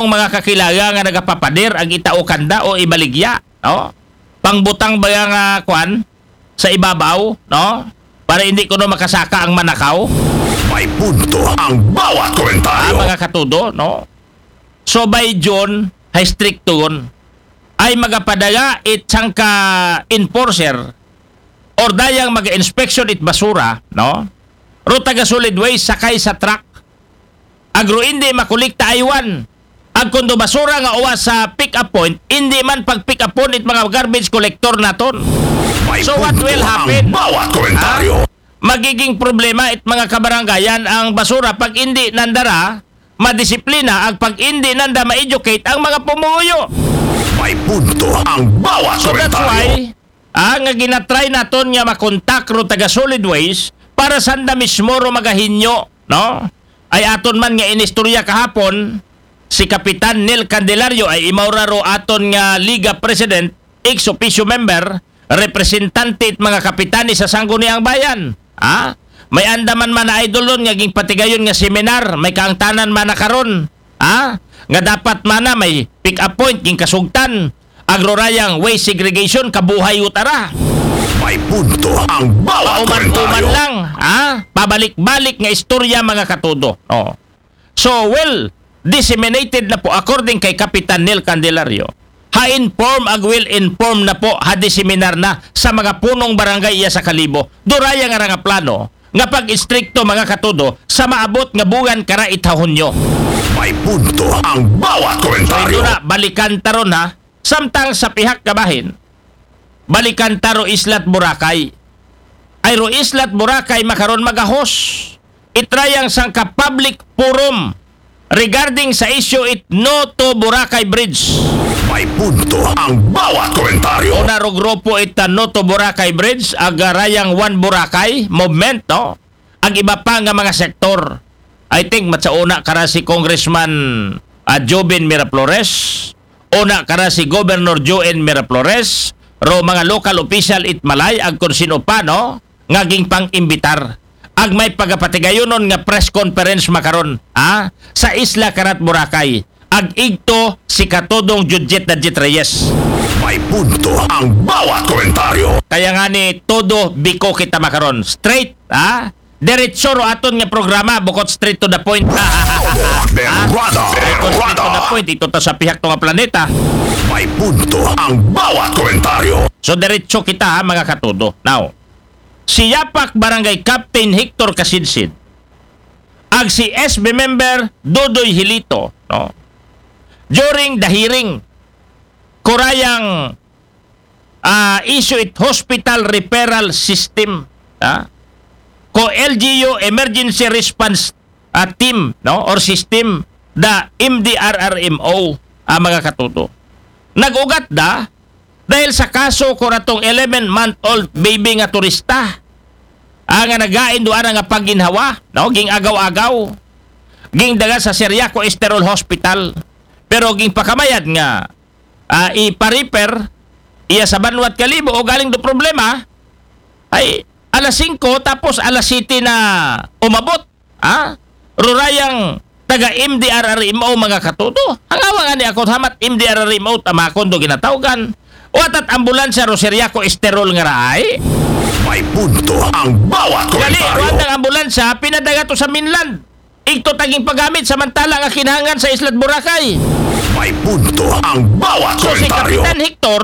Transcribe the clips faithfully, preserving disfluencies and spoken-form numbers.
mga kakilala nga nagapapader ang itao kanda o ibaligya, no? Pangbutang ba nga kwan sa ibabaw, no? Para hindi kuno makasaka ang manakaw. May punto ang bawat Ah, komentaryo. Mga katudo, no? So by June, ha strikto yun, ay magapadala it sangka enforcer or dayang mag-inspection it basura, no? Ro taga solid waste sakay sa truck. Agro hindi makulikta aywan. Agkundo basura nga uwa sa pick up point, hindi man pag pick up point it mga garbage collector naton. May So what punto will ang happen? Bawat komentaryo. Magiging problema it mga kabarangayan ang basura pag hindi nandara madisiplina ag pag hindi nanda ma-educate ang mga pumuyo. May punto ang bawat So that's komentaryo. Why ah, nga ginatry naton nga makontak ro taga solid waste para sanda mismo ro magahinyo, no? Ay aton man nga inistorya kahapon si Kapitan Neil Candelario ay imaw ra ro aton nga Liga President, ex officio member, representante it mga kapitani sa Sangguniang Bayan. Ha? May andaman man na idol ron nga gingpatigayon nga seminar, may kaangtanan man na karon. Ha? Nga dapat man na may pick up point ging kasugtan. Agrorayang waste segregation kabuhay utara. May punto ang bawat Pauman-uman komentaryo. Lang, ha? Pabalik-balik nga istorya mga katudo. Oh. So, well, disseminated na po according kay Kapitan Neil Candelario. Ha inform ag will inform na po ha diseminar na sa mga punong barangay iya sa Kalibo. Duraya nga nga plano nga pag-istrikto mga katudo sa maabot nga buwan kara it ha Hunyo. May punto ang bawat So, komentaryo. ito na, balikan taron ha. Samtang sa pihak kabahin, balikan ta ro Islat Boracay. Ay ro Islat Boracay makaron magahos. Itrayang sangka public forum regarding sa issue it No to Boracay Bridge. May punto ang bawat komentaryo. Una ro grupo ita No to Boracay Bridge, agarayang One Boracay movement, no? Ag iba pa nga mga sektor. I think matsauna kara si Congressman ah, Joven Miraflores, una kara si Governor Joen Miraflores, ro mga local official it Malay, ag kung sino pa, no? Nga gingpang-imbitar. Ag may pagapatigayonon nga press conference makaron, ha? Sa Isla Karat Boracay. Ag igto si Katodong Judget Dajit Reyes. May punto ang bawat komentaryo. Kaya nga ni todo biko kita makaron. Straight, ha? Diretso ro aton nga programa, bukod straight to the point. Berada. Bukod straight to the Berada. Point, ito ta sa pihak to nga planeta. May punto ang bawat komentaryo. So diretso kita ha, mga katudo. Now, si Yapak Barangay Captain Hector Kasidsid, ag si S B member Dodoy Hilito, no? During the hearing, kurayang ah, issue it hospital referral system, ha? Ko L G U emergency response ah, team, no, or system, the M D R R M O, ah, mga katuto. Nag-ugat da dahil sa kaso ko ratong eleven month old baby nga turista, ah, nga nagain do ana nga pagginhawa, no, ging agaw-agaw, ging daga sa Seriaco Esterol Hospital, pero ging pakamayad nga ah, ipa-refer iya sa banwat Kalibo o galing do problema ay alas singko tapos alas siyete na umabot, ha? Rurayang taga M D R R M O mga katuto. Ang awang ani ako hamat M D R R M O tamakon do ginatawgan. Watat ambulansya ro Seriaco Esterol nga raay. May punto ang bawat Gali, komentaryo. Kuan ang ambulansya, pinadaga to sa mainland. Igto taging paggamit samantala nga kinahanglan sa Islat Boracay. May punto ang bawat So si komentaryo. Kapitan Hector,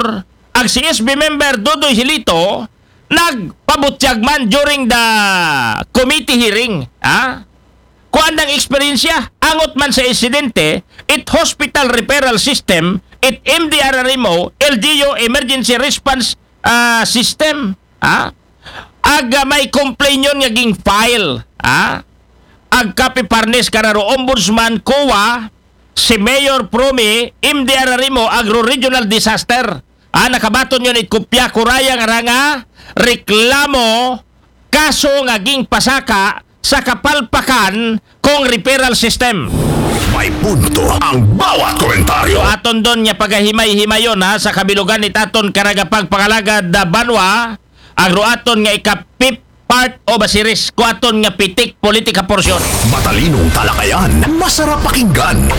ag si S B member Dodoy Hilito, nagpabutyag man during the committee hearing, ha? Kuan ang eksperyensya, angot man sa insidente, it hospital referral system, it M D R R M O, L G U emergency response ah, system, ha? Ag ah, may complaint yun nga ging file, ha? Ag kapiparnes kararo ombudsman, COA, si Mayor Promi, M D R R M O, Agro Regional Disaster. Ah, nakabaton yun it kopya kurayang ara nga reklamo, kaso nga ging pasaka sa kapalpakan kong referral system. May punto ang bawat komentaryo. So aton don nga pagahimay-himayon ha sa kabilugan ni taton karagapagpangalagad da banwa, agro aton nga ikapip part o basiris ko aton nga pitik politika porsyon. Matalinong talakayan, masarap pakinggan.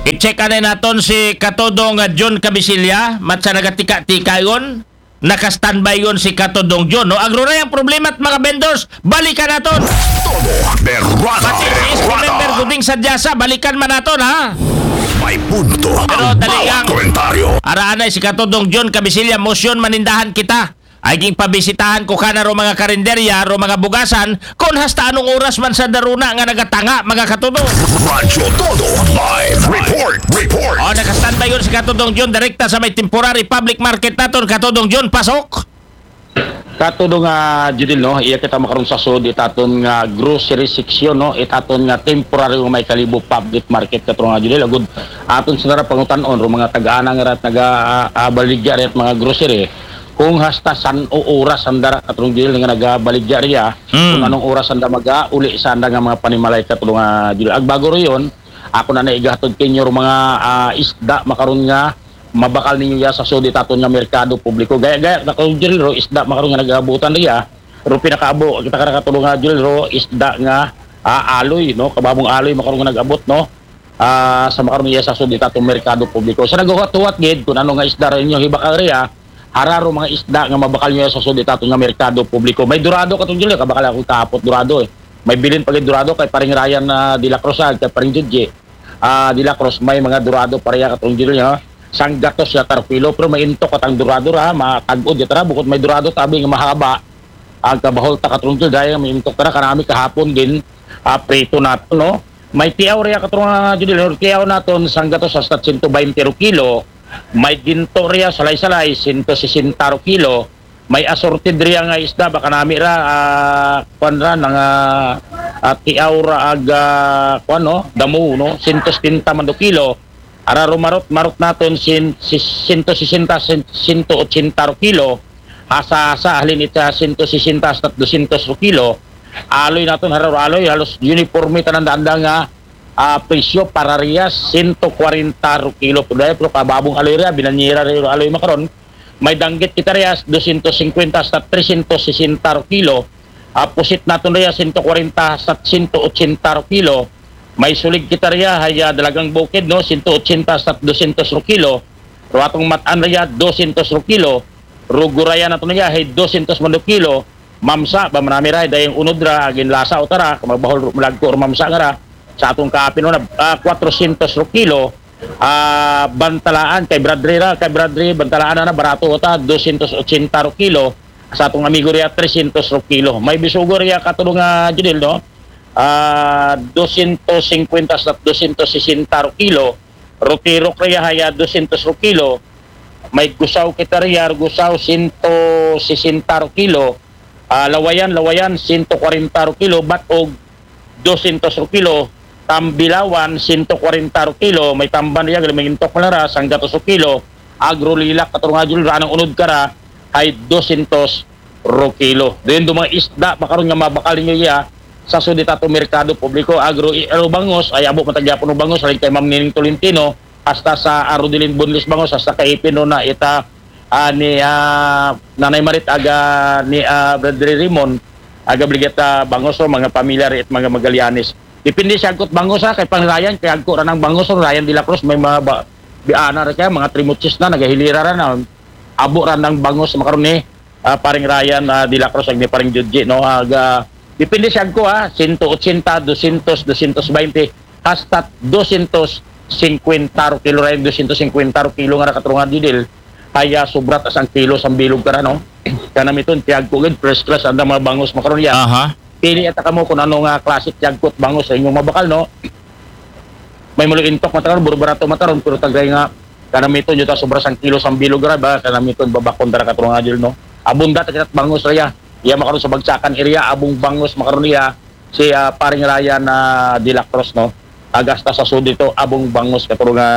I-check anay naton si Katudong, ah, John Cabisilla, matsa nagatika-tika yon. Naka-standby yon si Katudong John, no? Agro na yung problema at mga vendors, balikan naton. Todo Berrada. Pati si S P member Guding Sadyasa, balikan man naton, ha? May punto Pero ang dali bawat lang. Komentaryo. Araanay si Katudong John Cabisilla, motion manindahan kita. Ay ging pabisitahan ko kana ro mga karinderya, ro mga bugasan, kung hasta anong oras man sa daruna nga nagatanga, mga Katudong. Radyo Todo Live Report. Report. O, naka-standby yon si Katudong John, direkta sa may temporary public market naton. Katudong John, pasok. Katudong nga, Judil, no? Iya kita makaron sa sud, itaton nga grocery section, no? Itaton nga temporary nga may Kalibo public market, katudong nga, Judil. Agud, aton sa nara pangutan-on, ro mga taga-ana nga rat, naga, ah, ah, baligya rat mga grocery. Kung hasta san o oras ang dara, katudong Judil, nga nagabaligya riya, Mm. kung anong oras ang da maga, uli sa anda nga mga panimalay, katudong nga, Judil. Agbago ro yon, ako na naigahatod kinyo ro mga, ah, isda, makaron nga, mabakal ninyo ya sa sud itaton nga merkado publiko. Gaya-gaya na ko, Judil, ro isda makaron nga nagabutan riya. Ro pinakaabo kita kara, katudong nga, Judil, ro isda nga, ah, aloy, no? Kababong aloy makaron nga nag-abot, no? Ah, sa makaron iya sa sud itaton merkado publiko. Sa naghuwat-huwat gid kung ano nga isda rin yung hibakal riya, hara ro mga isda nga mabakal niyo sa sud itaton nga merkado publiko. May dorado, katudong Judil, kabakal ako kahapot dorado, eh. May bilin pa gid dorado kay paring Ryan na De La Cruz, ah, kay paring Judge, ah, De La Cruz, may mga dorado pa riya, katudong Judil, ha? Sanggatos ya taro kilo, pero may intok katang dorado ra, matag-od ya tara, bukod may dorado tabi nga mahaba. Ang kabahol ta, katudong Judil, dahil may intok tara, kanami kahapon din, ah, prito naton, no? May tiaw riya, katudong nga, Judil, no? Tiaw naton, sanggatos hasta sento baynte ro kilo, may ginto riya, salay-salay, sento sesenta ro kilo, may assorted riya nga isda, baka nami ra, ah, kwan ra, nga, ah, tiaw ra ag, ah, kwan, no? Damo, no? Sento setenta man do kilo. Ara ro marot, marot naton sin, si, sento sesenta, sen-, sento otsenta ro kilo. Hasa-hasa, halin ita sento sesenta hasta dosyentos ro kilo. Aloy naton, hara ro aloy, halos uniforme tanan da anda nga, ah, presyo para riya, sento kwarenta ro kilo. Pero dahil, pero kababong aloy riya, binanyera ro aloy makaron. May danggit kita riya, dosyentos singkwenta hasta tresyentos sesenta ro kilo. Ah, pusit naton riya, sento kwarenta hasta sento otsenta ro kilo. May sulig kita riya, hay, ah, Dalagang Bukid, no, sento otsenta hasta dosyentos ro kilo. Ro atong mat-an riya, dosyentos ro kilo. Ro gurayan naton riya, hay dosyentos man do kilo. Mamsa, ba manami ra, dayang unod ra, agin lasa o tara, kamabahol ro, malagko ro mamsa nga ra. Sa atong kaapin, no, na, ah, kwatrosyentos ro kilo. Ah, bantalaan, kay Bradley ra, kay Bradley, bantalaan na, na, barato o ta, dosyentos otsenta ro kilo. Sa atong amigo riya, tresyentos ro kilo. May bisugo riya, katudong nga, Judil, no? Ah, dosyentos singkwenta sa dosyentos sesenta ro kilo. Ro tirok riya, haya, dosyentos ro kilo. May gusaw kita riya, gusaw, sento sesenta ro kilo. Ah, lawayan, lawayan, sento kwarenta ro kilo, bat-og dosyentos ro kilo, tambilawan, sento kwarenta ro kilo, may tamban riya, gali may intok man ra, sanggatos ro kilo, agro lilak, katudong nga, Judil, ra anang unod kara, hay dosyentos ro kilo. Dayon do mga isda, makaron nga mabakal ninyo iya, sa sud itaton merkado publiko, agro, i-, aro bangos, ay abo man ta gihapon ro bangos, halin kay Ma'am Nining Tolentino, hasta sa Arudelin Boneless Bangos, hasta kay Ipin ro na ita, ah, ni, ah, Nanay Marit, aga ni, ah, Brother Raymond, aga Brigada Bangos, o mga pamilya ri it mga Magallanes. Depende siya agkot bangos, ha, kay pang Ryan, kay agko ra nang bangos, o Ryan de la Cruz, may mga ba, biana ra kaya, mga trimochis na, nagahilira ra na, abo ra nang bangos, makaron ni, ah, paring Ryan, ah, de la Cruz, ag ni paring Judge, no, aga, depende siya agko, ha, sento otsenta, dosyentos, dosyentos baynte, hasta dosyentos singkwenta ro kilo, Ryan, dosyentos singkwenta ro kilo nga ra, katudong nga, Judil, haya, sobra ta sang kilo sang bilog kara, no? Kanamiton, tiyagko gid, first class, anda mga bangos makaron ya. Aha. Pili ata kamo kung ano nga klase tiyagko, bangos sa inyong mabakal, no? May mulo intok mataron, buro barato mataron, pero tagay nga, kanamiton, yuta sobra sang kilo sang bilog ra, ba, kanamiton, babakon tara, katudong nga, Judil, no? Abunda ta kita bangos ra ya. Iya makaron sa Bagsakan area, abong bangos makaron iya, si, ah, paring Ryan na de la Cruz, no? Agasta sa sud ito, abong bangos, katudong nga,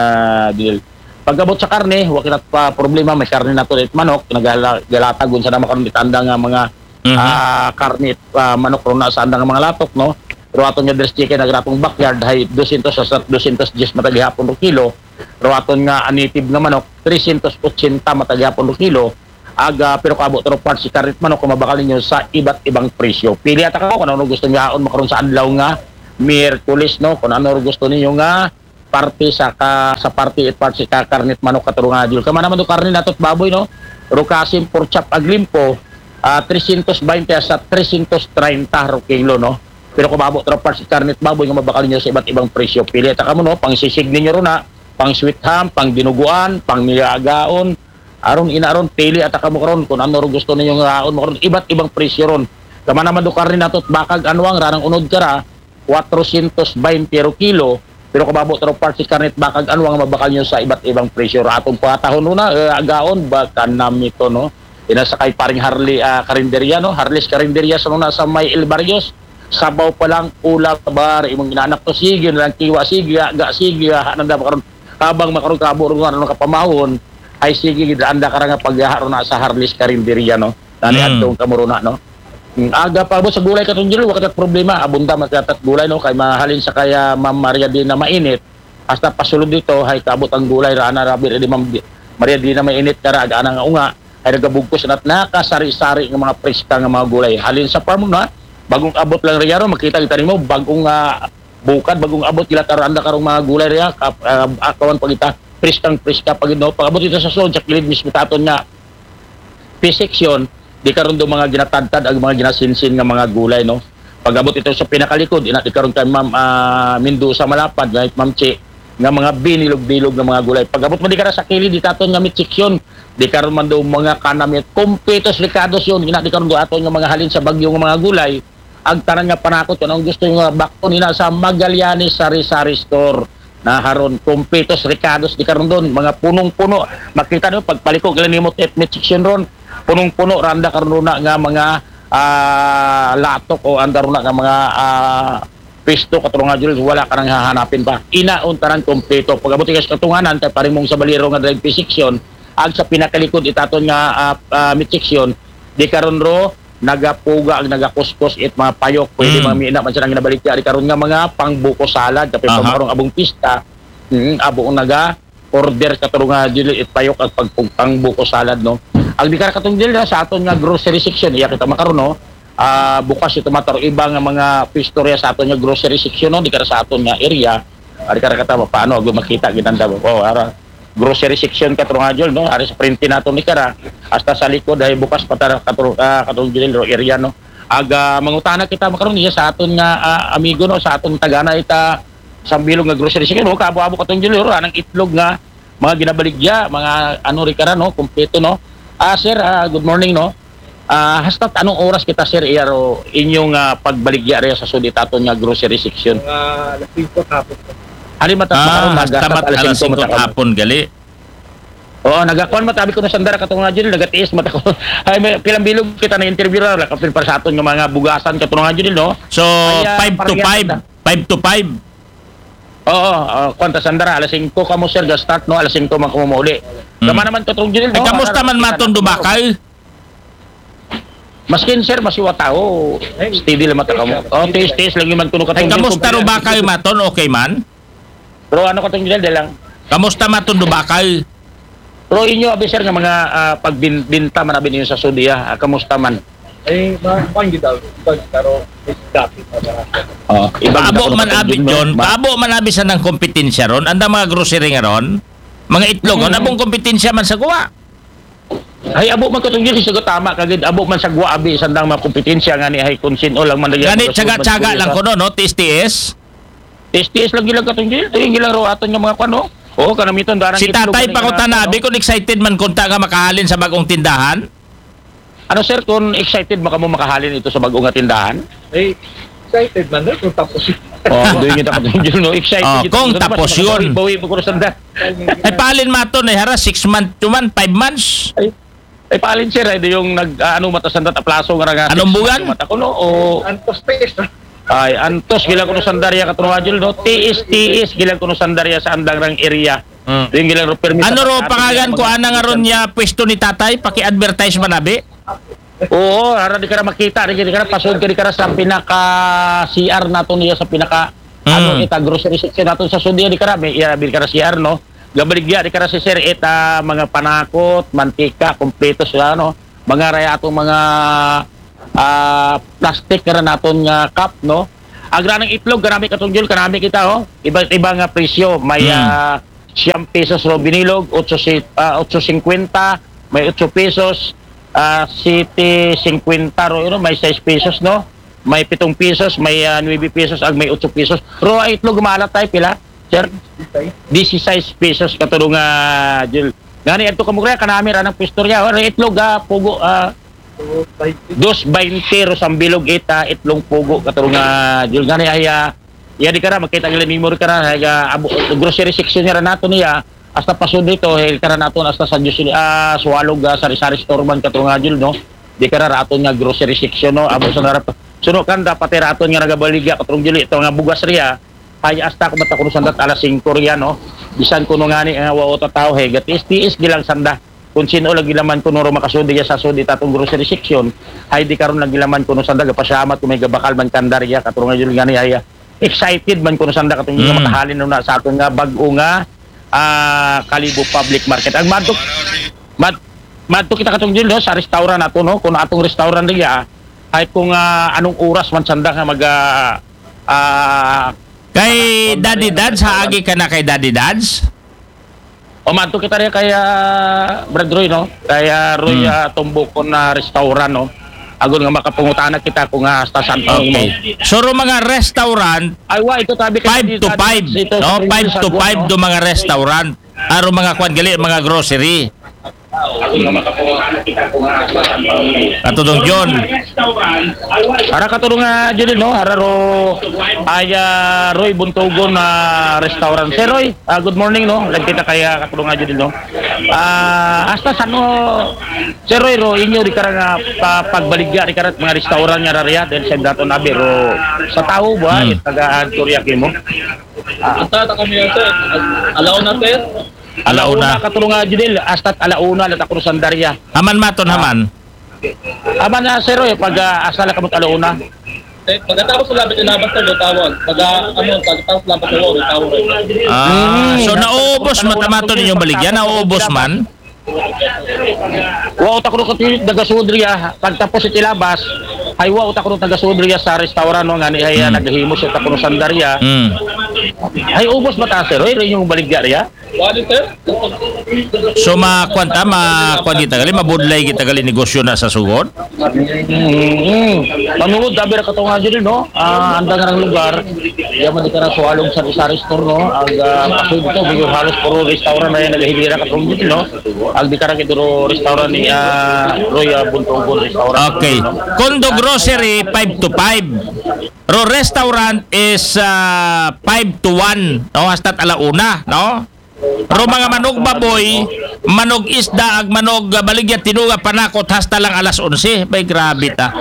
Judil. Pag-abot sa karne, wa kita pa problema, may karne naton it manok, nagala-, galatagon sa naman karon it anda nga mga, Mhm. ah, karne, ah, manok ron na sa anda nga mga latok, no? Ro aton nga dress chicken, nagratong backyard, hay dosyentos sa dosyentos diyes man ta gihapon ro kilo. Ro aton nga native nga manok, tresyentos otsenta man ta gihapon ro kilo. Aga, pero kaabot ro part si karne it manok, kung mabakal ninyo sa iba't ibang presyo. Pili ata ka kung ano gusto niyo haon makaron sa adlaw nga Miyerkules, no? Kung ano gusto ninyo nga parte sa ka, sa parte it part si ka karnit manok, Katurong Jul. Kama naman do karne nato it baboy, no? Rukasim, pork chop, ag limpo, ah, trescientos veinte hasta trescientos treinta ro kilo, no? Pero kung maabot ro part si karnit baboy nga mabakal nyo sa iba't ibang presyo, pili ta kamo, no? Pang sisig ninyo ron na, pang sweet ham, pang dinuguan, pang niyagaon, aron ina ron, pili ata kamo karon kung ano ro gusto ninyo nga aon mo karon, iba't ibang presyo ron. Kama naman do karne nato it bakag anwang, ranang unod kara, quatrocientos veinte ro kilo, pero kung maabot ro part si karne it bakag anwang, mabakal nyo sa iba't ibang presyo. Ra atong patahon ron na, eh, agaon, baka namito, no? Ina sa kay paring Harley, ah, Karinderya, no? Harley's Karinderya sa nuna sa may El Barrios, sabaw pa lang, ulam, bar, imong inaanak to, sige na lang, kiwa, sige, aga, sige, ha, nanda makaron, kabang makaron, kabo, ron, ano, kapamahon, ay sige, gid, anda ka ra nga paghaha ron na sa Harley's Karinderya, no? Nani Mm. adtong kamuruna, no? Mm, aga pa, abot sa gulay, Katurong Jul, wala kat problema, abunda man kat gulay, no? Kay mahalin sa kaya Ma'am Maria Dina Mainit, hasta pasulod dito, hay kaabot ang gulay, ra ana, rabi, di Ma'am Di-, Maria Dina Mainit, kara, aga ana nga unga, ay nagabugkos na't nakasari-sari nga mga preska nga mga gulay. Halin sa farm na, bagong abot lang riya ron, makita kita nimo, bagong, ah, bukad, bagong abot, gila, karanda karong mga gulay riya, kap-, ah, akawan pa kita, preskang preska pa gid, no? Pag-abot kita sa sulod, sa kilid mismo taton nga P section, di karon do mga ginatadtad ag mga ginasinsin nga mga gulay, no? Pag-abot ito sa pinakalikod, ina di karon kay Ma'am, ah, Mendoza Malapad, right, Ma'am Chi, nga mga binilog-bilog nga mga gulay. Pag-abot mo di karon sa kilid, di taton nga meat section, di karon man do mga kanamit, kumpitos, rekados yon, ina di karon do aton nga mga halin sa Baguio nga mga gulay, ag tanan nga panakot, kung anong gusto nyo nga bakton, ina sa Magallanes Sari-Sari Store. Na haron, kumpitos, rekados, di karon don, mga punong-puno. Makita nyo, pagpaliko, gila nimo, tit-, meat section ron, punong-puno, randa karon na nga mga, ah, latok o anda ron na nga mga, ah, pisto, Katurong Jul, wala ka nang hahanapin pa. Inaon tanan kompleto. Pag-abot ka sa katunganan, kay paring mong sa baliro nga drive P section, ag sa pinakalikod itaton nga, ah, ah, meat section, di karon ro, nagapuga ag nagakuskos it mga payok. Pwede Mm. mga mina man silang ginabaligya. Di karon nga mga pangbuko salad, kapag Aha. pangkarong abong pista, mm, abong naga order, Katurong Jul, it payok ag pagpugpang buko salad, no? Ang di ka, Katurong Jul, sa aton nga grocery section, iya kita makaron, no? Ah, bukas ito mataro iba nga mga pwesto riya sa aton nga grocery section, no? Di ka sa aton nga area. Ah, di ka kata, paano, ag makita, ginanda mo. Oh, ara, grocery section, Katurong Jul, no? Ari sa prente nato ni kara, hasta sa likod, ay bukas pa tara, Katurong, ah, Katurong Jul, ro area, no? Aga, mangutana kita, makaron niya sa aton nga, ah, amigo, no? Sa aton tagana ita, sa bilog nga grocery section, no? Kaabo-abo, Katurong Jul, ro, anang itlog nga, mga ginabaligya, mga ano ri kara, no? Kompleto, no? Ah, sir, ah, good morning, no? Ah, hasta anong oras kita, sir, iyaro inyong, ah, pagbaligya rin sa sudi taton nga grocery section? Mga alas singko hapon po. Hali mata, Ah, makaroon, hasta nag-, mat-, alas alas singko singko mata ka mo. Hapon, gali. Oo, nagakuan mata, abi ko na sandara, Katurong Jul, nagatiis mata ko. Ay, may pilang bilog kita na interview ra, kapil para sa aton nga mga bugasan, Katurong Jul, no? So, Kaya, five to pareha five. kita. Five to five. Oo, ah, kuwan ta sandara, alas singko kamo, sir, ga-start, no? Alas singko man kamo mauli. Hmm. Kama naman, Katurong Jul, Ay, no? Kamusta Ara-, man maton do bakay? Maskin, sir, masiwa tao. Steady lang mata kamo. Oh, tiis-tiis lang man kuno, Ay, Katurong Jul, kamusta ro bakay maton? Okay man? Pero ano, Katurong Jul, di lang. Kamusta maton do bakay? Pero inyo, abi, sir, nga mga, ah, pagbin-, binta man, abi, ninyo sa sudi, ah, kamusta man? Eh, ma-, kuwan gid daw. Kuwan, pero dati pa ba? Oh, iba gid Paabo ako man, abi, nakatungtong, no? John, Ma- paabo man, abi, sa nang kompetensya ron, anda mga grocery nga ron, mga itlog, Hmm. ano pong kompetensya man sa kuwa? Ay, abo man, Katurong Jul, sa tama kagid, abo man sa guwa, abi, sandang mga kompetensya nga ni, ay, kung sino lang man lagi Gani, ang tsaga-tsaga magsulod lang sa kuno, no? Tiis-tiis. Tiis-tiis lang gila, Katurong Jul. Ito yung gila ro aton nga mga kuwan, no? Oo, kanamiton, darang Si itlog, Tatay kanang Pangutana, ginagawa, no? Abi, kung excited man kunta nga makahalin sa bagong tindahan? Ano, sir, kung excited ba kamo makahalin ito sa bagong nga tindahan? Eh, excited man, no? Kung tapos yun. Oh, doon yung tapos yun, no? Excited Oh, kita. kung Gusto naman tapos sa mga yun. bawi-bawi mo, kung sanda. Ay, palin maton, ay, hara, six months, two months, five months. Ay, ay, palin, sir, ay, doon yung nag, ah, ano, mata sanda, aplaso nga nga, Anong six buwan? months, mata ko, no? O Antos tiis, no? Ay, antos, gila ko no sandarya, Katurong Jul, no? Tiis, tiis, gila ko no sandarya sa andang rang area. Hmm. Doon gila ro permi Ano sa ro, pagkakataon pangalan ng ko, mga ana nga ron niya, pwesto ni Tatay, paki-advertise man, abi? Oo, ara di ka na makita, di ka na pasod ka, di ka na sa pinaka C R nato niya, sa pinaka, Mm. ano, ita grocery section nato sa sudi, di ka na, may, iya, di ka na C R, no? Gabaligya, di ka na si sir, ita mga panakot, mantika, kompleto sila, no? Mga raya atong mga, ah, plastic na naton nga cup, no? Agra ng itlog, kanami, Katong Jul, kanami kita, oh. Iba't iba nga presyo. May, Hmm. ah, siyam pesos ro binilog, otso si-, ah, otso singkwenta, may otso pesos, ah, siyete singkwenta ro, you know, may sais pesos, no? May pitong pesos, may, ah, nuwebe pesos, ag may otso pesos. Ro, ay itlog, maalat tayo, pila, sir? Disisais pesos, Katong, ah, Jul. Ngani, adto kamo, kanami ra ng pwesto riya. Ro, itlog, ah, pugo, ah, dos baynte ro sambilog ita, itlong pugo, Katong, ah, Jul. Ngani, ay, ah, iya di kara, makita nila memory kara, ay, ah, abo, grocery section niya ra nato niya, hasta pasod dito, eh, kara nato, hasta sa Diyos, ah, Suwalog, ah, sari-sari store man, Katong, ah, Jul, no? Di kara raton nga grocery section, no? Abo sa narap, suno kan, dapat raton nga nagabaligya, Katong Jul, ito nga bugas riya, ay hasta ko matakuno sandat alas singko riya, no? Bisan kuno ngani nga wa uta tao, he, gatiis-tiis gilang sanda. Kung sino lagi laman kuno ro makasudi ya sa sudi tatong grocery section, hay di karon lagi laman kuno sanda, gapasyamat ko may gabakal man kanda riya, Katong Jul, ngani ay, ah, excited man kuno sanda, Katong Jul, Mm. makahalin na sa aton nga bag-o nga, ah, Kalibo Public Market. Ang madto, mad-, madto kita, Katong Jul, no, sa restaurant nato, no, kung atong restaurant riya, ay kung, ah, anong oras man sanda nga mag, ah, ah, Kay Daddy Dads, haagi ka na kay Daddy Dads? O, madto kita riya kay, ah, Brad Roy, no? Kay, ah, Roy, Hmm. ah, Tumbukon na restaurant, no? Agon nga makapangutana kita kung, ah, hasta san, Okay. So, ro mga restaurant, Ay, wa, ito tabi ka five dito, to five, dito, no? dito, Five sa to Guam, five no? do mga restaurant. Aro mga kwan gali, mga grocery. Katudong John. Ara, Katudong, ah, Judil, no? Ara ro, ay, ah, Roy Buntugon, ah, restaurant. Sir Roy, ah, good morning, no? Lagi kita kaya, Katudong, ah, Judil, no? Ah, hasta san, no, Sir Roy, ro, inyo di kara nga pa-, pagbaligya di kara mga restaurant nga rariya, dahil sa daton abi, ro, sa tao ba, Hmm. taga Antoria kimo? Ah. Ata, ta kami yan, sir. Alaw na, sir. Alauna. Alauna, Katudong, ah, Judil, hasta alauna, lata ko sandarya. Haman maton, Ah. haman. Haman na, sir, eh, pag, ah, hasta lang kamot alauna. Eh, pagkatapos sa labit, ilabas na, tawag. Pag, ah, ano, pagkatapos labas na, tawag. Ah, Hmm. so naubos man tama to ninyong baligya, naubos man? Wa uta ko katilit nagasudriya, pagtapos iti labas, ay wa uta ko nagasudriya sa restaurant, no, ngani ay, ah, Hmm. naghihimo siya ta kuno sandarya. Hmm. Ay, ubos ba ta, sir? Ay, rin yung baligya riya? Wala, sir. So, makuan ta, makuan kita gali, mabudlay kita gali negosyo na sa sugod. Mm. Panungod, dabi ra katong nga dyan, no? Ah, andang nga lugar, yaman di ka na suwalong sa sari-sari store, no? Ang, ah, pasoy dito, medyo halos puro restaurant na yan, naghihilira katong dyan, no? Ang di ka na kituro restaurant ni, ah, Roy, ah, Buntugon restaurant. Okay. Kondo Grocery, five to five. Ro restaurant is, ah, five to one, no? Hasta't alauna, no? Ro mga manog baboy, manog isda, ag manog, ah, baligya tinuga, panakot, hasta lang alas onse. Bay, grabe ta.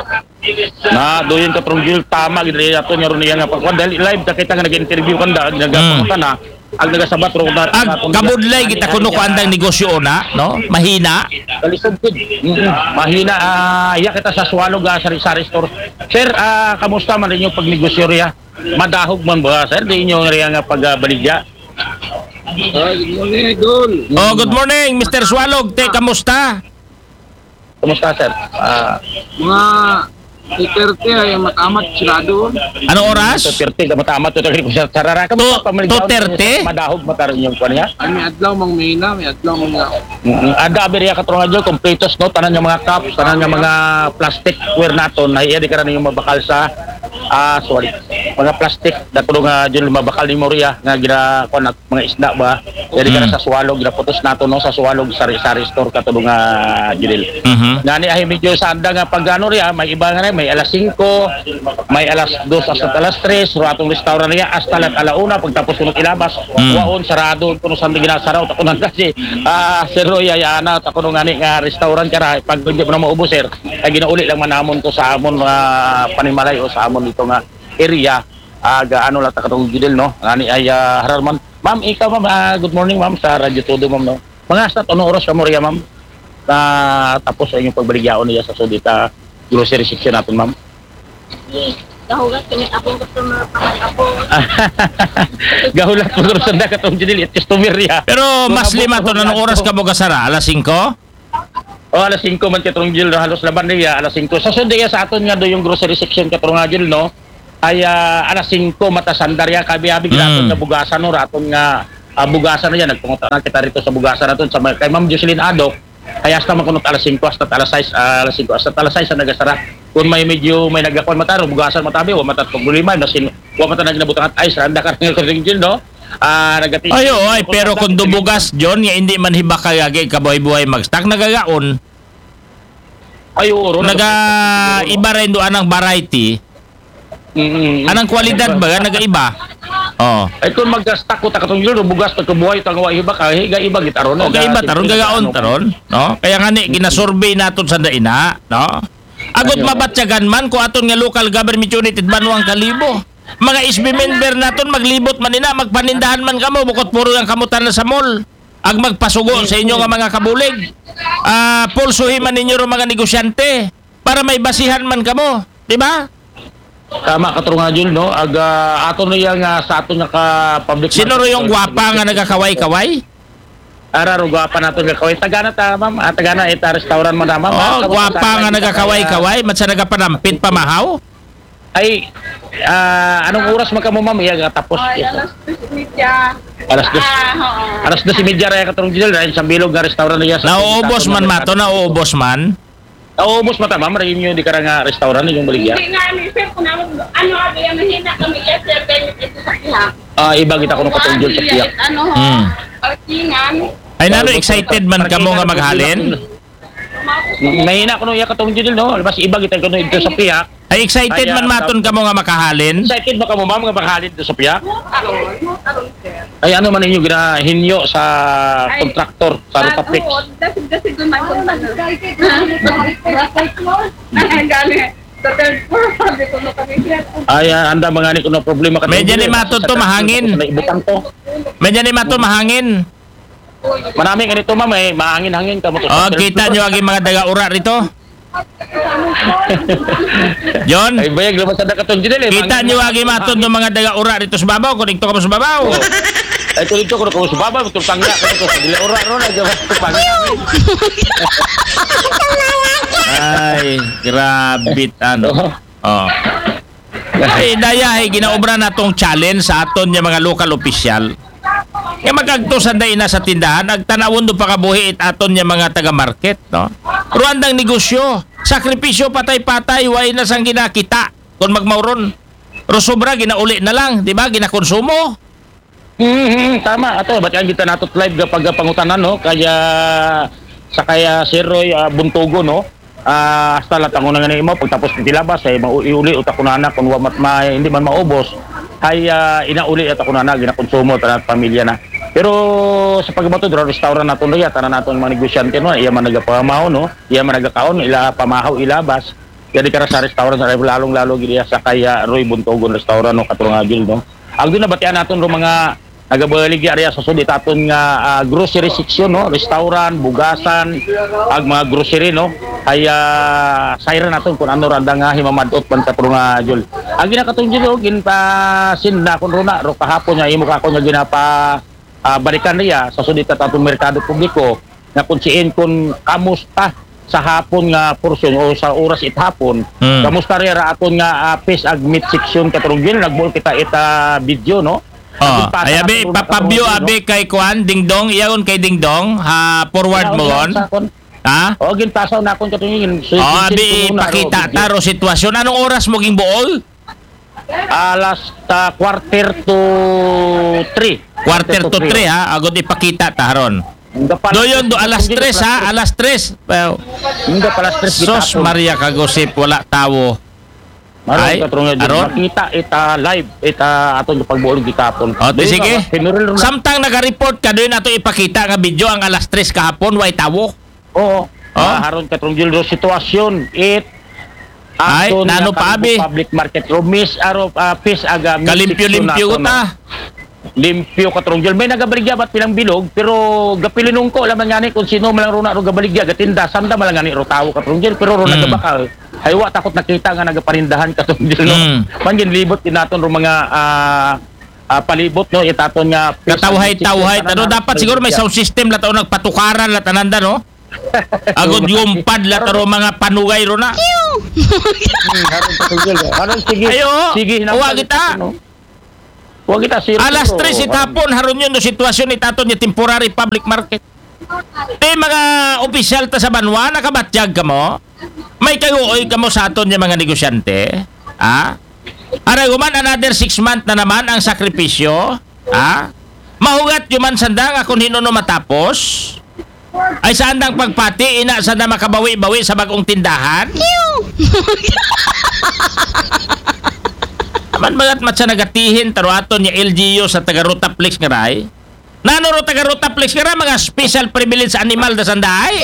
Na, doon ka, Tronjil, tama, gid, ato niya ron niya nga pagkuan. Dahil live, ta kita nga nag-interview kanda, ag nagapangutana, ag nagasabat ro na, Ag na, kabudlay kita kuno ko andang negosyo na, no? Mahina. Kalisod, gid. Mm-mm. Mahina, ah, iya kita sa Swalog, ah, sari-sari store. Sir, ah, kamusta man ninyo pag negosyo riya? Madahog man ba, sir? Di inyo riya nga pagbaligya? Ah, good morning, Idol. Oh, good morning, Mister Swalog. Te, kamusta? Kumusta, sir? Ah, mga two thirty ay matamat, sigurado. Anong oras? Two thirty, matamat, two thirty, sir. Sarara ka, Two, pamaligyaw, two thirty? Madahog, matarin yung kwan niya. Ay, may adlaw, mang mahina, may adlaw, mang nga. Mm, ada, abi riya, Katronjil, kompletos, no? Tanan nga mga cups, tanan nga mga plasticware naton, na iya di ka rin yung mabakal sa, ah, sorry, mga plastic, dato nga, Jun, mabakal ni Moria, nga gina, kuwan, mga isda ba? Iya di ka rin Mm. sa Swalog, ginaputos nato, no? Sa Swalog, sari-sari store, Katronjil. Mhm. Ngani, ay, medyo sa anda nga pag, ano, riya, may iba nga rin, may alas singko, may alas dos hasta alas tres, ro atong restaurant niya, hasta lang alauna, pagtapos sunod ilabas, Mm. waon, sarado, kuno sa ginasaraw, ta kuno kasi, ah, Sir Roy, ay, ana, ta kuno ngani nga restaurant ka ra, pag hindi mo na maubos, sir, ay ginauli lang man namon to sa amon, ah, panimalay o sa amon dito nga area, ah, ga-, ano lang ta katong gidil, no? Ngani ay, ah, harar man. Ma'am, ikaw, ma'am, ah, good morning, ma'am, sa Radyo Todo, ma'am, no? Mga sa, ano oras ka mo riya, ma'am? Na tapos ang inyong pagbaligyaon niya sa sudita grocery section natin, ma'am? Gahulat kami, akong customer, pangal ako. Gahulat mo, sir, sa katong gidil, it customer niya. Pero mas lima to, anong oras ka mo gasara? Alas singko? O, alas singko man, Katronjil, no? Halos laban niya, alas singko. Sa sud iya sa aton nga do yung grocery section, Katronjil, no? Ay, ah, alas singko mata sanda riya, kabi-abi, Mm. raton nga bugasan, no, raton nga, ah, bugasan na yan. Nagpunta na kita rito sa bugasan naton sa may, kay Ma'am Jocelyn Adok. Ay, hasta man kuno alas singko, hasta alas sais, ah, alas singko, hasta alas sais ang nagasara. Kung may medyo, may nagakwan mata, no, bugasan mata bi, wa mata problema, nasin, wa mata nagnabutangan, ay, sanda ka rin, Kuya Jun, no? Ah, nagati-, Ay, oo, ay, pero kung dubugas, John, nga hindi man hibakag agi kabuhay-buhay mag-stock, nagagaon. Ay, oo, ron, Naga, iba rin doon ang variety. Mm, mm. Anang kwalidad ba? Nagaiba. Oh. Ay, kung mag-stock ko, takatong yun, bugas, pagkabuhay, tangwa, iba ka, higa, iba, gitaron. O kaiba taron, gagaon taron, no? Kaya nga ni, ginasurvey naton sa daina, no? Agod mabatyagan man ko aton nga local government unit it Banwang Kalibo. Mga S B member naton, maglibot man ina, magpanindahan man kamo, bukod puro ang kamutan na sa mall. Ag magpasugo sa inyo nga mga kabulig. Ah, pulsuhi man ninyo ro mga negosyante para may basihan man kamo, di ba? Tama ka, Trung Jul, no? Ag, ah, ato na yan nga sa ato nga ka public Sino ro market, yung no? Gwapa nga nagakaway-kaway? Ara ro, Gwapa nato nga kaway. Tagana ta, ma'am. Ah, tagana, ita restaurant mo na, ma'am. Oh, Ah, Gwapa nga nagakaway-kaway, man sa nagapanampit pamahaw? Ay, ah, anong oras man kamo, ma'am? Iya, tapos. Ay, alas tres y media. Alas dos. Ah, oo. Alas dos y media raya ka, Trung Jul, raya sa bilog nga restaurant niya. Sa Nauubos man mato, nauubos man. Nauubos mata, ma'am, raya inyo di ka nga restaurant yung baligya. Hindi nga, ni sir, kung ano, ano, abi, ang mahina kami, yes, sir, kaya ito sa kihap. Ah, iba kita ko nung katong Jul sa piyak. Ano, Hmm. Parkingan. Ay, nano, excited man kamo nga maghalin? Mahina ko nung iya katong Jul, no? Mas iba kita ko nung ito sa piyak. Ay, excited Ay, man ah, maton kamo nga makahalin? Excited ba kamo, ma'am, nga maghalin ito sa piyak? Aron, aron, sir. Ay, ano man ninyo ginahinyo sa kontraktor sa Rotapix? Oo, dasig-dasig ko man kung ano. Ang gani. Sa third floor, sabi ko, "Makabigyan." Ay, ah, anda mga ni kuno problema ka. Medyo ni maton to, mahangin. Ibutang to. Medyo ni maton, mahangin. Manami ganito, ma'am, eh, mahangin-hangin ka mo to. Oh, kita nyo agi mga daga ura rito. John, Ay, bayag naman sa dakatong Jul, eh. kita Mahangin. Nyo agi maton to mga daga ura rito sa babaw, kung ito ka mo sa babaw. Ay, tuloy ko, kung sa baba, tultang na, kung sa dila ura, ro, na, gawin ko pang. Ay, grabe, ano. Oh. Oh. Ay, daya, ay, ginaobra na tong challenge sa aton niya mga local official. Nga magagto sa daina sa tindahan, agtanawon do pakabuhi it aton niya mga taga-market, no? Pero andang negosyo, sakripisyo, patay-patay, way na sang ginakita, kung magmauron. Pero sobra, ginauli na lang, di ba? Ginakonsumo. Hmm, hmm, tama. Ato, ba't yan kita natot live kapag pangutanan, no? Kaya, sa kaya Sir Roy, ah, Buntugo, no? Ah, hasta lang tango na nga ni mo, pagtapos ng tilabas, ay mau-, iuli, utak ko na anak, kung wamat ma-, hindi man maubos, ay, ah, inauli at ako na anak, ginakonsumo, tanat pamilya na. Pero sa pagbato, dura restaurant naton, riya, tanan naton mga negosyante, no? Iya man nagapamaw, no? Iya man nagakaon, ila pamahaw, ilabas. Kaya di ka ra sa restaurant, sa lalong-lalo, gid iya sa kaya Roy Buntugon Restaurant, no? Katurang Agil, no? Ang doon nabatian naton, ro mga nagabaligya area sa sud, itaton nga, ah, grocery section, no? Restaurant, bugasan, ag mga grocery, no? Ay, ah, sayran naton kung ano randa nga himamadot man sa puro nga, Jul. Ang ginakatong Jul, oh, ginpasin na kun runa, ro kahapon nga imo ka ako nga ginapa, ah, balikan niya sa sud, itatong merkado publiko, nga kung siin kung kamusta sa hapon nga portion o sa oras it hapon. Hmm. Kamusta rin ra aton nga, ah, fish ag meat section, Katurong Jul, nagbuol kita ita video, no? Oh, Nagpasa ay, abi, natin papabyo, mga abi, kay Kuan, Dingdong, iyaon kay Dingdong, ha, forward mo Sa- gon. sa kon- Ha? O, ginpasaw na akong katungin. So, Oh, ginsin abi, ko na, ipakita Ro, ta ro sitwasyon. Anong oras mo ging buol? Alas, ah, quarter to three. Quarter to three, ha? Agod ipakita ta ron. Nga pala, Do yun, do alas hindi tres, na ha? Alas tres. Well, Hindi pala stress Sos gitapon. Maria Kagosip, wala tawo. Aron, Ay, Katurong Jul, aron? Makita ita live, ita atong pagbuol gitapon. O, di Doon sige. na, General Ronald. Samtang nag-report ka, doon nato ipakita nga video ang alas tres kahapon, way tawo. Oo. Oh? Ah, aron, Katurong Jul, ro sitwasyon, it Ay, aton nano nga pa, abi? Public market, ro mis, aro, ah, fish aga, meat Kalimpyo-limpyo section ko nato, ta. no? Limpyo, Katurong Jul. May nagabaligya ba't pilang bilog, pero gapilinungko laman nga ni kung sino man lang runa ro gabaligya, gatinda, sanda man lang nga ni ro tawo, Katurong Jul, pero ro Mm. nagabakal. Ay, wa takot nakita nga nagaparindahan, Katurong Jul, no? Mm. Man, ginlibot din naton ro mga, ah, ah, palibot, no? Itaton nga fish Katawhay-tawhay. ag meat Ano, section, dapat siguro may sound system la tao nagpatukaran la tananda, no? Agod gumpad la taro mga panugay ro na. Hmm, haron, Katong Jil, eh. Haron, sige. Ayo, Sige, wa kita. No? Wa kita, sir. Alas Pero, tres it haron, hapon, haron yun no sitwasyon it aton nga temporary public market. Ti mga opisyal ta sa banwa, nakabatyag kamo? May kaguoy kamo sa aton nga mga negosyante? Ha? Aray, human another six month na naman ang sakripisyo? Ha? Mahugat yuman sanda nga kung hinuno matapos? Ay saan ang pagpati, ina sanda makabawi-bawi sa bagong tindahan? Man bagat mat sa nagatihin, taro aton nga L G U sa taga Rotaflex nga ray. Nano ro taga Rotaflex nga ray, mga special privilege animal da sanday?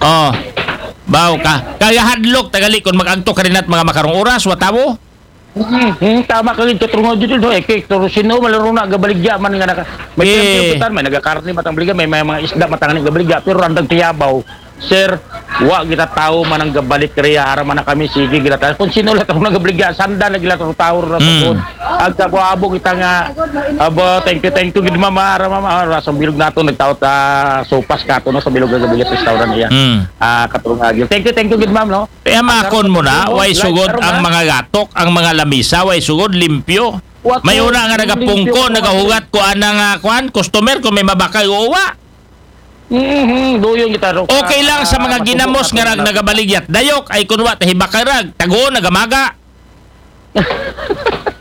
Oh, baw ka. Kaya hadlok tagali kung mag-agto ka rin at mga makarong oras, watawo? Hmm, hmm, tama ka gid, Katong Jil, no? Eh, kay, pero sino malaro na, gabaligya man nga naka, may Eh. Piyampiyo kita, may nagakarne matang baligya, may, may mga isda matang gabaligya, pero andang tiyabaw, sir, wa kita tao man ang gabalik riya, ara man na kami, sige, gila tayo. Kung sino lang ang nagabaligya, sanda na gila tayo tao na Hmm. tungkol. Ang kabo-abo kita nga, abo, thank you, thank you, gid mama, ara mama, ara, sa bilog nato, nagtaot, ah, sopas ka to, no, sa bilog nga gabaligya, restaurant niya. Hmm. Ah, Katong Jil. Thank you, thank you, gid ma'am, no? Kaya makon mo na, way sugod ang mga gatok, ang mga lamisa, way sugod, limpyo. May una nga nagapungko, nagahugat ko anang ah, kwan, customer kung may mabakay o uwa. Mm-hmm. Duyon kita ro. Okay lang sa mga ginamos nga rag nagabaligyat. Dayok ay kunwa tahibakay rag. Tago, nagamaga.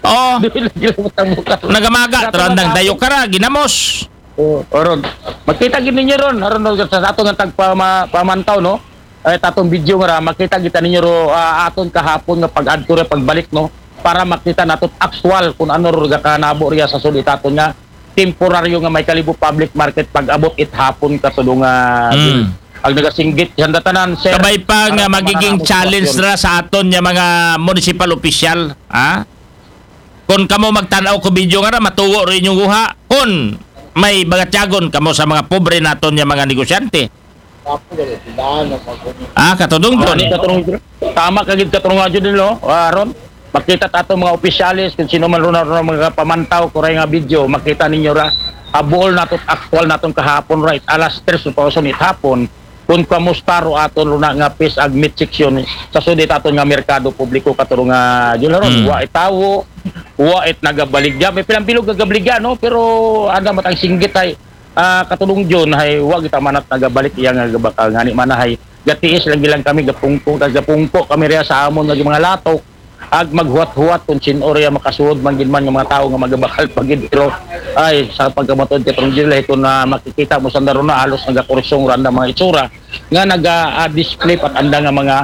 Oh, Duyon lagi lang matang bukas. Nagamaga, trandang dayok ka ra, ginamos. Oh, oron. Makita gid ninyo ron, aron no, sa ato nga tagpama-, pamantaw, no? Ay, tatong video nga ra, makita kita ninyo ro, ah, aton kahapon nga pag-adto ra, pagbalik, no? Para makita nato actual kung ano ro gakanabo riya sa sud it aton nga temporaryo nga may Kalibo Public Market pag-abot it hapon, Katong, ah, Mm. ang nagasinggit sa tanan, sir. Kabay pa nga Aron magiging mananabo challenge sitwasyon. Ra sa aton nga mga municipal official, ha? Kung kamo magtan-aw ko video nga ra, matuo ro inyong guha. Kung may bagatyagon kamo sa mga pobre naton nga mga negosyante. Ah, Katong Jil. Ani, Katong, tama ka gid, Katong Jil, no? Aron makita ta ato mga opisyales kung sino man ron, ron mga pamantaw ko ray nga video, makita ninyo ra. Abuol nato, actual naton kahapon, right? Alas tres pa uson it hapon. Kung kamusta ro aton ro na nga fish ag meat section sa sud it aton nga merkado publiko, Katong Jil, ron. Mm. Wa itawo, wa it nagabaligya. May pilang bilog nagabaligya, no? Pero anda matang singgit ay, ah, Katong Jil, hay wa kita manat nagabalik iya nga gabakal, ngani man hay gatiis lagi lang kami, gapungko, gapungko kami riya sa amon nga mga latok, ag maghuwat-huwat kung sin-o riya makasuod man gid man nga mga tawo nga magabakal pa gid. Pero ay, sa pagkamatod, Katong Jil, kung na makikita mo sanda ron na halos nagakursong ra anda mga itsura nga naga-display pa anda nga mga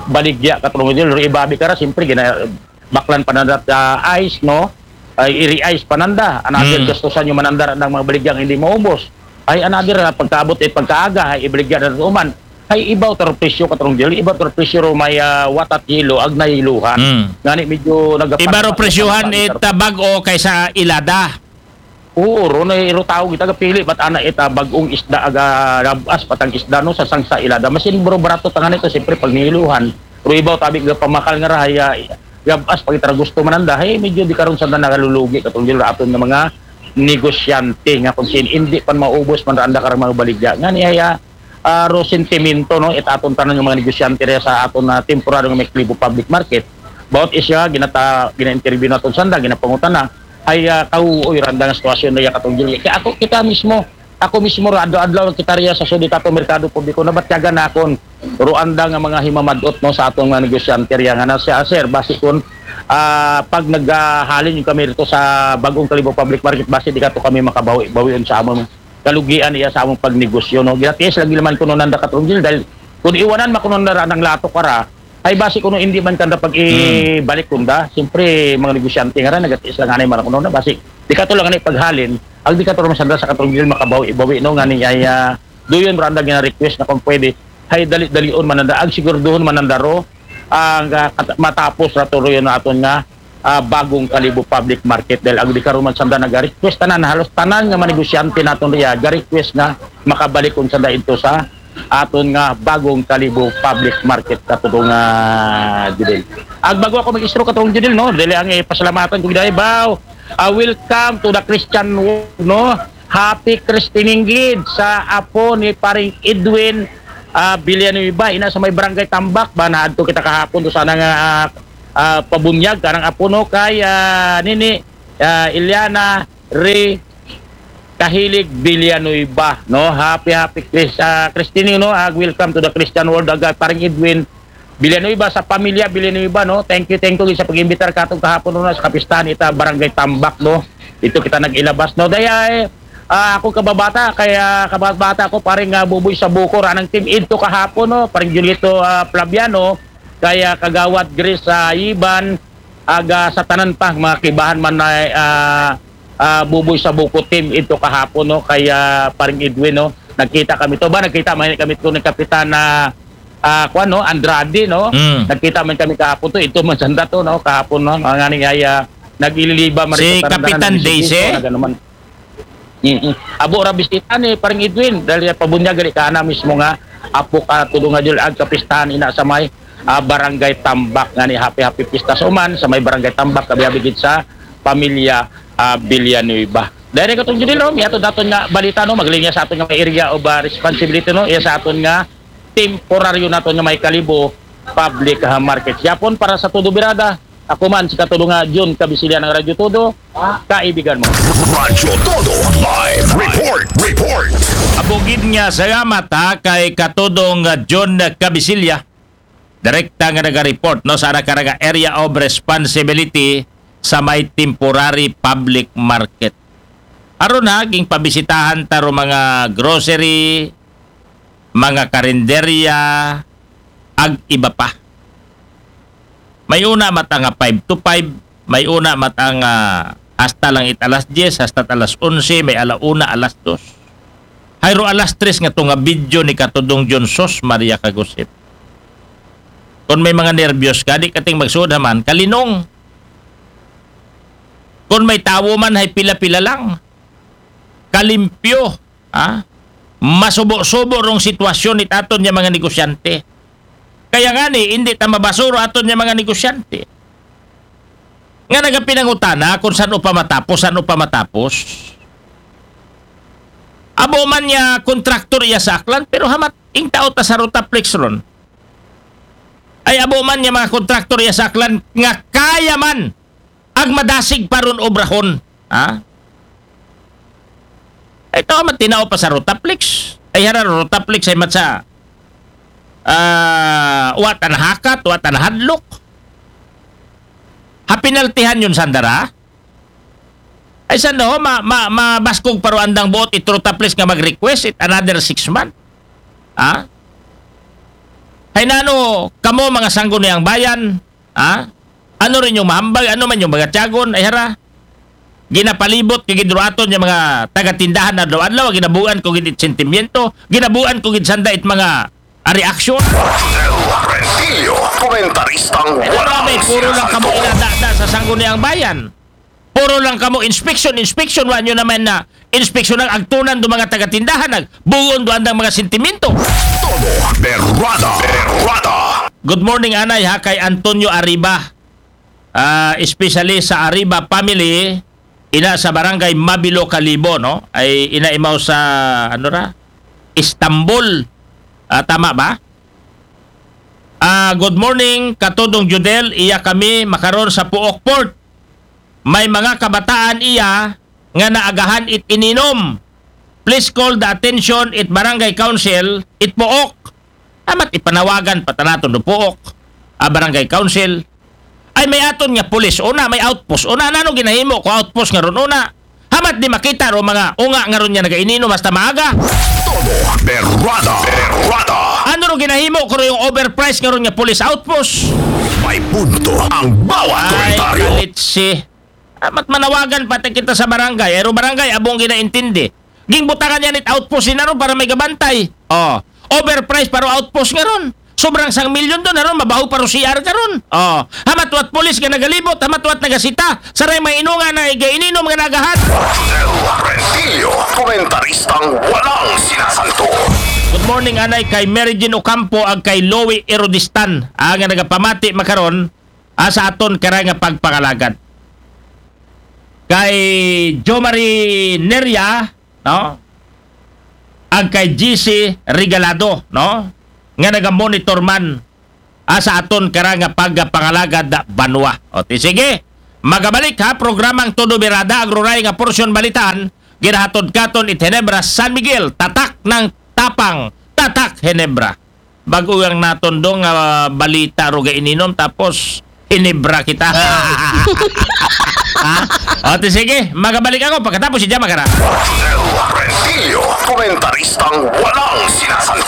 baligya, Katong Jil. Pero ibabi ka ra, siyempre, gina-, baklan pa nanda, ah, ice, no? Ay, iri-ice pa nanda. Another Mm. gastusan yung mananda ng mga baligyang hindi maubos. Ay, another, ah, pagkaabot, eh, pagkaaga, ay, ibaligya na uman. Ay, ibaw tar presyo, Katong Jil, ibaw tar presyo ro may, ah, watat yelo, ag nayiluhan. Mm. Ngani, medyo nagapatag- Iba ro presyohan it ah, bag-o kaysa ilada. Oo, ro na iro tao kita kapili, ba't ana it ah, bag-ong isda, aga, rabas, patang isda, no, sa sangsa ilada. Masin, bro, barato tangan ito, siyempre, pag niluhan. Ro ibaw, tabi, ga pamakal nga rahay, ah, rabas, pag itara gusto mananda, hey, medyo di karon sa na nakalulugi, Katong Jil, aton nga mga negosyante, nga kung sin, hindi pan maubos man ra anda karang mga baligya. Ngani, ay, ah, ah, ro sentimento, no, it aton tanan nga mga negosyante riya sa aton na temporaryo nga may Kalibo Public Market. Bawat isya, ginata-, gina-interview naton sanda, ginapangutana, ay, ah, kauoy ra anda nga sitwasyon riya, Katong Jil. Kaya ako, kita mismo, ako mismo, ra, adlaw-adlaw kita riya sa sud it aton merkado publiko, nabatyagan na akon, ro anda nga mga himamadot, no, sa aton nga negosyante riya nga na siya, "Sir, basi kun, ah, pag naghalin yung kami rito sa bagong Kalibo Public Market, basi di kato kami makabawi-bawion sa amon kalugian iya sa among pagnegosyo, no?" Gatiis lagi naman kuno nanda, Katong Jil, dahil kung iwanan man kuno nanda ang latok para, ay basi kuno hindi man kanda pag ibalik kunda. Siyempre, mga negosyante nga ra, nagatiis lang anay man kuno na, basi di kato lang anay paghalin, ang di kato naman sanda sa, Katong Jil, makabawi-bawi, no? Ngani ay, ah, duyon ra anda gina-request na kung pwede, hay dali-dalion man nanda, ag sigurduhon man nanda ro, ang, ah, kat-, matapos ra to ro yun aton nga, ah, bagong Kalibo Public Market, dahil ang di karon man sanda naga-request, tanan, halos tanan nga mga negosyante naton riya, ga-request nga makabalik kun sanda ito sa aton nga bagong Kalibo Public Market, Katong, ah, Jil. Ag bago ako mag-istro, Katong Jil, no? Dili ang ipasalamatan ko gid ay, baw. Ah, welcome to the Christian world, no? Happy Christening gid sa apo ni Paring Edwin ah, Villanueva, ina sa may Barangay Tambak, ba, naadto kita kahapon do sana nga, ah, ah, pabunyag kanang apo, no, kay, ah, nini, ah, Eliana Re Kahilig Villanueva, no? Happy, happy Chris, ah, Christine, no? Ah, welcome to the Christian world, aga, parang Edwin Villanueva, sa pamilya Villanueva, no? Thank you, thank you sa pag-imbitar katong kahapon, no, sa kapistahan ita Barangay Tambak, no? Ito kita nag-ilabas, no? Daya, eh, ah, ako kababata, kaya kababata ko, parang, ah, Buboy sa Bukor, anang team Edto kahapon, no? Parang Julito, ah, Flaviano, kaya Kagawad Grace, ah, Iban, aga sa tanan pa, mga kibahan man na, ah, ah, Buboy sa Bukor team ito kahapon, no? Kaya parang Edwin, no? Nagkita kami to ba? Nagkita man kami to ni Kapitan na, ah, kuwan, no? Andrade, no? Mm. Nagkita man kami kahapon to. Ito man sanda to, no? Kahapon, no? Ang aning ay, ah, nag-ililiba man Si ito, tanan-tanan, Kapitan nag-isip Daisy? ko, nag-ano man. Mm-mm. Abo ra bisita ni parang Edwin, dahil pabunyag gali ka na mismo nga apo ka tulo nga Jul ag kapistahan ina sa may, ah, Barangay Tambak nga ni happy, happy pista sa uman sa may Barangay Tambak, kabiyabi gid sa pamilya, ah, Villanueva. Dahil katong Judil, no, may ato daton nga balita, no, maglinya sa aton nga may area of, ah, responsibility, no, iya sa aton nga temporaryo naton nga may Kalibo public, ah, market. Yapon para sa Todo Birada, ako man si Katulo nga Jun Kabisilya ng Radyo Todo, kaibigan mo. Radyo Todo Live Report. Report. Abugid nga salamat ha kay Katudong, ah, John Kabisilya. Direkta nga naga-report, no, sa ara ka nga area of responsibility sa may temporary public market. Aron ha, ging pabisitahan ta ro mga grocery, mga karinderya, ag iba pa. May una mata nga five to five, may una mata nga hasta lang it alas diyes, hasta alas onse, may ala una, alas dos. Hayro alas tres nga to nga video ni Katudong John, sos Maria Kagusit. Kung may mga nervyos ka, di kating magsuod haman, kalinong. Kung may tawo man, hay pila-pila lang. Kalimpyo, ha? Masubo-subo rong sitwasyon ni aton nga mga negosyante. Kaya nga ni, hindi ta mabasuro aton nga mga negosyante. Nga nagapinangutana kung saan upa matapos, saan upa matapos. Abo man niya kontraktor iya sa Aklan, pero hamat ing tao ta sa Rotaflex ron. Ay abo man niya mga kontraktor iya sa Aklan nga kaya man ag madasig pa ron obrahon. Ha? Ay, tao man tinao pa sa Rotaflex. Ay, hara Rotaflex ay mat sa, ah, wa ta nahakat, wa ta nahadlok. Ha, pinaltihan yun, sandara? Ay, sanda ho, ma, ma, mabaskog pa ro andang buot it Rotaflex nga mag-request it another six month. Ha? Hay nano, kamo mga sangguniang bayan, ha? Ano rin yung mahambag, ano man yung mga tiyagon, ay hara. Ginapalibot kay gid ro aton nga mga taga-tindahan adlaw-adlaw, ginabuan ko gid it sentimiento, ginabuan ko gid sanda it mga, ah, reaksyon. Rentillo, komentaristang Ano walang ba, puro lang kamo sinasagot. Inadada sa sangguniang bayan. Puro lang kamo inspection, inspection, wa nyo naman na inspection ang agtunan do mga taga-tindahan, nagbuon do andang mga sentimiento. Todo Berrada. Berrada. Good morning, anay, ha, kay Antonio Arriba. Ah, especially sa Arriba family, ina sa barangay Mabilo, Kalibo, no? Ay ina imaw sa, ano ra? Istanbul. Ah, tama ba? Ah, good morning, Katudong Judel. Iya kami makaron sa Puok Port. May mga kabataan iya nga naagahan it ininom. Please call the attention it barangay council, it Puok. Amat ipanawagan pa tanaton do Puok, a barangay council. Ay may aton nga pulis una, may outpost una. Nano ginahimo ko outpost nga ron una? Hamat di makita ro mga unga nga ron nga nagaininom hasta maaga? Todo Berrada. Berrada. Ano ro ginahimo ko ro yung overprice nga ron nga police outpost? May punto ang bawat Ay, komentaryo. Kalitsi. Amat manawagan pati kita sa barangay. Ay ro barangay, abong ginaintindi. Gingbutangan yan it outpost ni naro para may gabantay. Oh, overprice para outpost nga ron. Sobrang sang milyon doon, haron mabaho pa ro C R ka ron. Oh, hamatwat pulis nga nagalibot, hamatwat nagasita. Saray may inunga na iga ininom nga nagahat. Rentillo, komentaristang walang sinasanto. Good morning, anay, kay Mary Jean Ocampo ag kay Louie Erodistan, ah, nga nagapamati makaron, ah, sa aton karay nga pagpangalagad. Kay Jomari Neria, no? Ag kay G C Regalado, no? nga nagamonitor man, ah, sa aton kara nga pagpangalagad da banwa. O, ti sige, magabalik ha, programang Todo Birada, ang ruray nga porsyon balitaan, ginahatod katon it Ginebra San Miguel, tatak ng tapang, tatak Ginebra. Bago ang natondong nga balita ro ga ininom, tapos Ginebra kita. Ha? O, ti sige, magabalik ako pagkatapos si Jama Kara. Rentillo, komentaristang walang sinasanto.